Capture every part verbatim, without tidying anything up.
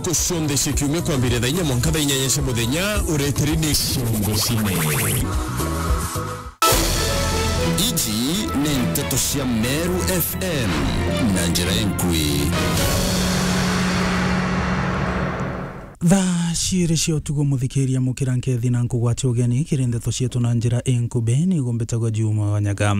Ntuku cionthe cia kiumia kwambiria thaa inya mwanka thaa inyanya cia muthenya, ureteri ni Ciongo Cine. Iji ni nteto cia Meru F M na njira inkui. Thaa ciiri cia utuku, muthikiria, mukira nkethi na nkugwatia ugeni kiri ndeto cietu na njira inkubi. Nigo mbitagwa Juma Wanyaga.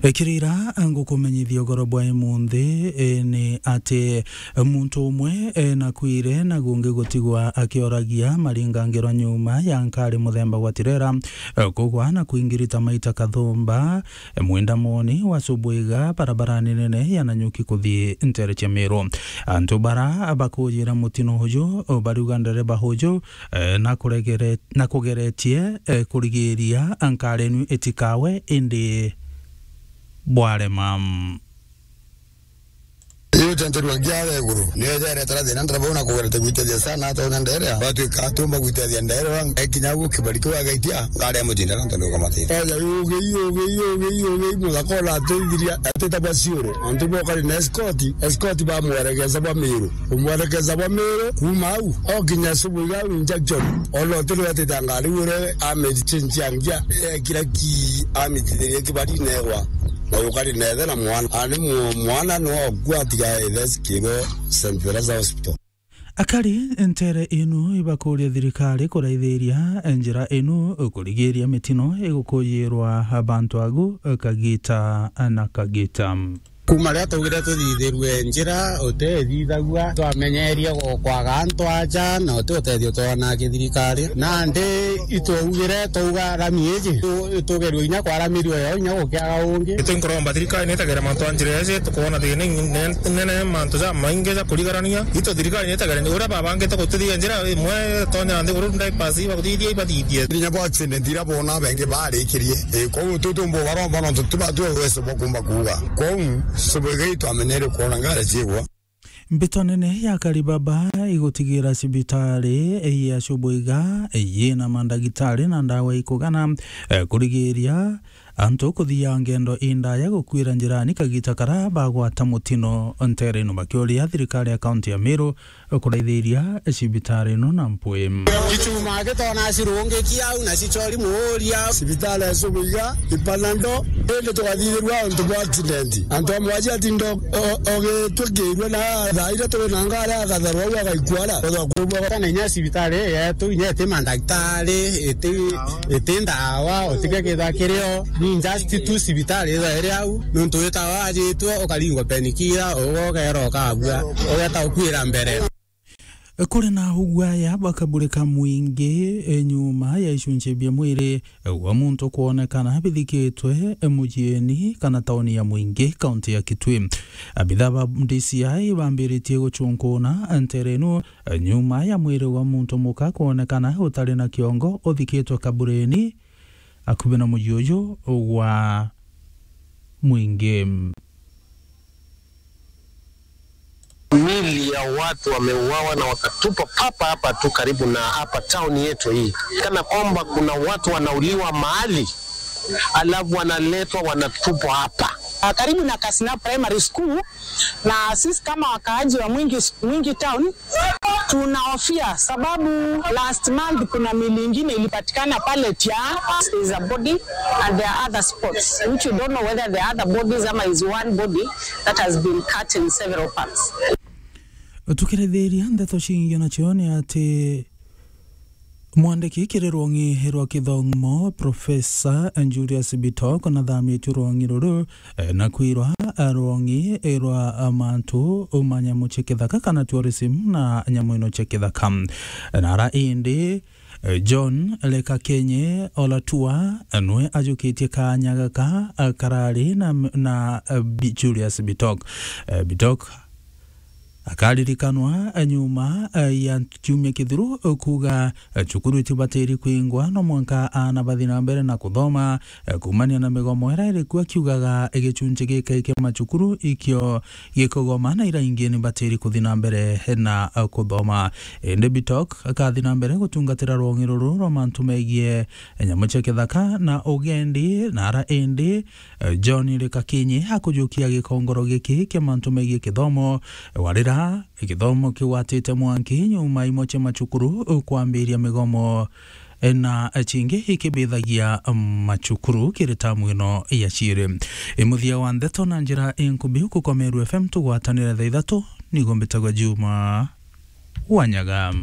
E, kiri ira ngukumenyithia ugoro bwa imunthi, e, ni ati muntu umwe, e, nakuire na gungi gutigwa akioragia maringangirwa nyuma ya nkari muthemba gwa tirera, e, kugwa na kuingirita maita kathumba, e, mwindamoni wa Subuiga, barabarani nene ya Nanyuki kuthii ntere cia Miru. Antu bara bakujira mutino uju, o, bariuga ndereba uju, e, na kuregere-, na kugeretie, e, kurigiria nkari inu itikawe, indi bwarema. Iyo tenterua ngiara iguru, niyo ijaretera thina ndereba una kugerete gwitethia sana, atonya nderea, batwika atumba gwitethia nderea, ekinya ugu kibari kiu agaitia, ngari ya mutinda na ntondo kamati. Oja yugi, yugi, yugi, yugi, muthaka ona atithiria, atita bwa Siuru. Antu bokari na escort, escort bamwerekeza bwa Miru. Kumwerekeza bwa Miru, kuma au, okinya Subuiga au injection. Ona utiri watita ngari ure amechange angia, ekira ki amitithirie kibari negwa. Na yukari nethe na mwana. Ani mu-, mwana no gwa tiga ethe sikirwe Saint Teresa Hospital. Akari ntere inu ibakuria thirikari kuraithiria njira inu kurigiria mitino igukujirwa bantu agu kagita na kagita. Kuma riria twaugire tuthithirue njira, utethithagua, twamenyeria gu-, kwaga antu aja, na uti utethio twona kithirikari. Nandi itwaugire twauga rami iji, tu-, itugerua inya kwaramirio yo inya gukiaga ungi. Itu nkuromba thirikari nitegere mantu a njira iji, tukwona thina in-, nene, mantu ja maingi ja kurigarania. Itu thirikari nitegere uria babangite gutithia njira imwe, tonya nthiguru bypass ibakuthithia, ibathithie. Inya bo accident iria bona bengi barikirie. Ii, kwou tu tumbo baromba nontu tibatu uwezo bwa kumba kuuga. Kwou, Subuiga itwamenyere kwona ngari ciigwa. Mbito nene ya Karibaba igutigira cibitari ya Subuiga yina mandagitari na ndawa ikugana, eh, kurigiria antu kuthia ngendo indaya gukwira njirani kagita kara bagwata mutino ntere ino, bakiuria thirikari ya kaunti ya Meru kuraithiria cibitari ino na mpwi. Gichuma gitona cirungiki au na cichori muuria. Cibitari ya Subuiga, Ipanando, indi tugathithirua antu bwa accident. Antu amwe aja atindo o-, ogitwikirwe na thaa iria turi na ngari agatharwa au agaikua ara. Kana inya cibitari yetu inya iti mandagitari, iti, iti ndawa, utige kitha kirio. Ni just tu cibitari ithaire au, nontu witawa ajitwe ukaringwa penikira, uga ugera ukabua, ugeta ukwira mbere. Kuri na ugwaya bwa kaburi ka mwingi, e, nyuma ya icunci bia mwiri, e, gwa muntu kwonekana bithikitwe, e, mujieni kana tauni ya Mwingi, kaunti ya Kitui. Abitha ba D C I bambiritie gucunkuna ntere inu, e, nyuma ya mwiri wa muntu muka kwonekana utari na kiongo uthikitwe kaburini akubi na muji uju gwa Mwingi. Mili ya watu wameuawa na wakatupa papa hapa tu karibu na hapa town yetu hii. Kana kwamba kuna watu wanauliwa mahali, alafu wanaletwa wanatupwa hapa. Ah, karibu na Kasina Primary School, na sisi kama wakaaji wa Mwingi, Mwingi Town, tunahofia sababu last month kuna mili ingine ilipatikana pale Tia. There is a body and there are other spots which we don't know whether there are other bodies ama is one body that has been cut in several parts. Tukirithiria ndeto cingi nacio ni ati mwandiki kiri rwongi rwa kithomo, Professor Julius Bitok, nathamitue rwongi ruru, eh, na kwirwa, eh, rwongi rwa, eh, mantu ma nyamu cia kithaka kana tourism na nyamu ino cia kithaka. Na ara indi, eh, John Lekakenye Olatua, eh, nwe ajukitie kaanya gaka, eh, karari na, na, eh, Bi-, Julius Bitok. Eh, Bitok akaririkanwa, eh, nyuma, eh, ya kiumia kithiru, eh, kuuga, eh, cukuru itibatiri kwingwa no mwanka aana bathi na mbere na kuthoma, eh, kuumania na migomo iria iri kuo, akiugaga, eh, gicunci giki kia macukuru ikio gikugoma na iria ingi ni batiri kuthi na mbere na, eh, kuthoma. Indi Bitok akathi na mbere gutungatira rwongi ruru rwa mantu megie, eh, nyamu cia kithaka na ugendi, na ara indi, eh, John Lekakinyi akujukia gikongoro giki kia mantu megie kithomo, eh, warira Kithomo kigwatite mwanki nyuma imwe cia macukuru kwambiria migomo, na cingi ikibithagia macukuru kiri tamu ino ya ciiri. Imuthia wa ndeto na njira inkubi kukomeru F M tugwatanire thaa ithatu, nigo mbitagwa Juma Wanyaga.